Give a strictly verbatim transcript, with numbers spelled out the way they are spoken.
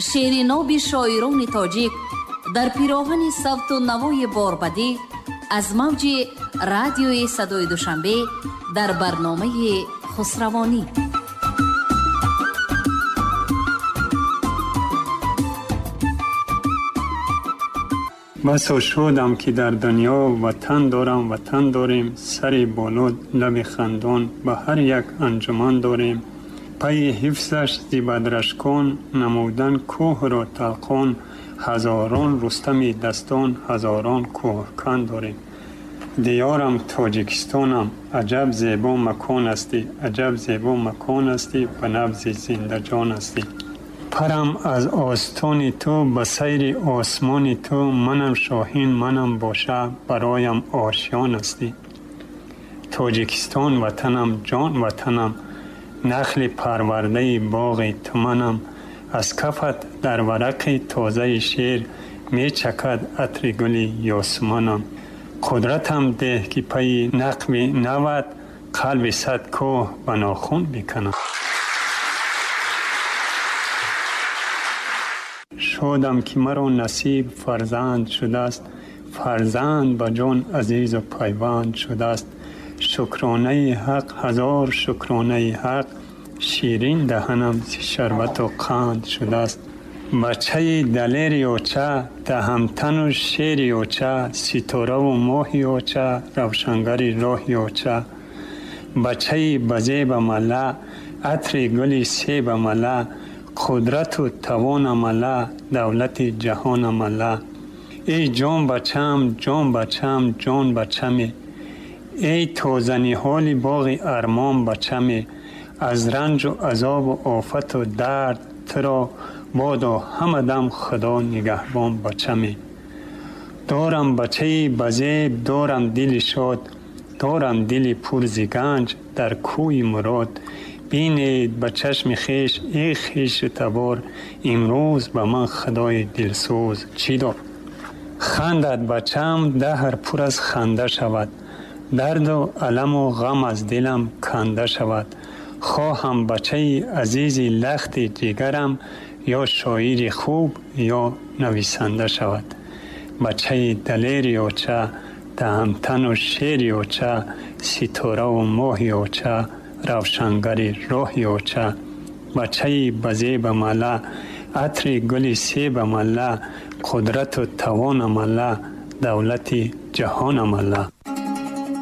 Шеъри ноби шоирони тоҷик дар пироҳани савту навои борбадӣ аз мавҷи радиои садои Душанбе дар барномаи Хусравонӣ. Басо шудам, ки дар дунё ватан дорам, ватан дорем, сари боло, лаби хандон, ба ҳар як анҷуман дорем. Пайи ҳифзаш зи бадрашкон намудан кӯҳро талқон, ҳазорон Рустами дастон, ҳазорон кӯҳкан дорем. Диёрам Тоҷикистонам, аҷаб зебо макон ҳастӣ, аҷаб зебо макон ҳастӣ, ба набзи зиндаҷон ҳастӣ. Парам аз остони ту ба сайри осмони ту, манам шоҳин, манам боша, бароям ошён ҳастӣ. Тоҷикистон ватанам, ҷон ватанам, нахли парвардаи боғи ту манам. Аз кафат дар варақи тозаи шеър мечакад атри гули ёсуманам. Қудратам деҳ, ки пайи нақби нават қалби сад кӯҳ ба нохун биканам. Шодам, ки маро насиб фарзанд шудааст, фарзанд ба ҷон азизу пайванд шудааст. Шукронаи ҳақ, ҳазор шукронаи ҳақ, ширин даҳанам зи шарбату қанд шудааст. Бачаи далери оча, даҳамтану шери оча, ситораву моҳи оча, равшангари роҳи оча. Бачаи базеба мала, атри гули себа мала, қудрату тавона мала, давлати ҷаҳона мала. Эй ҷон бачам, ҷон бачам, ҷон бачаме, эй тозаниҳоли боғи армон бачаме, аз ранҷу азобу офату дард туро бодо ҳама дам Худо нигаҳбон бачаме. Дорам бачаи базеб, дорам дили шод, дорам дили пур зи ганҷ дар кӯи мурод. Бинед ба чашми хеш, эй хешу табор, имрӯз ба ман Худои дилсӯз чӣ дод. Хандад бачам, даҳр пур аз ханда шавад, дарду аламу ғам аз дилам канда шавад. Хоҳам бачаи азизи лахти ҷигарам, ё шоири хуб, ё нависанда шавад. Бачаи далери оча, даҳамтану шери оча, ситораву моҳи оча, равшангари роҳи оча. Бачаи базеба мала, атри гули себа мала, қудрату тавона мала, давлати ҷаҳона мала.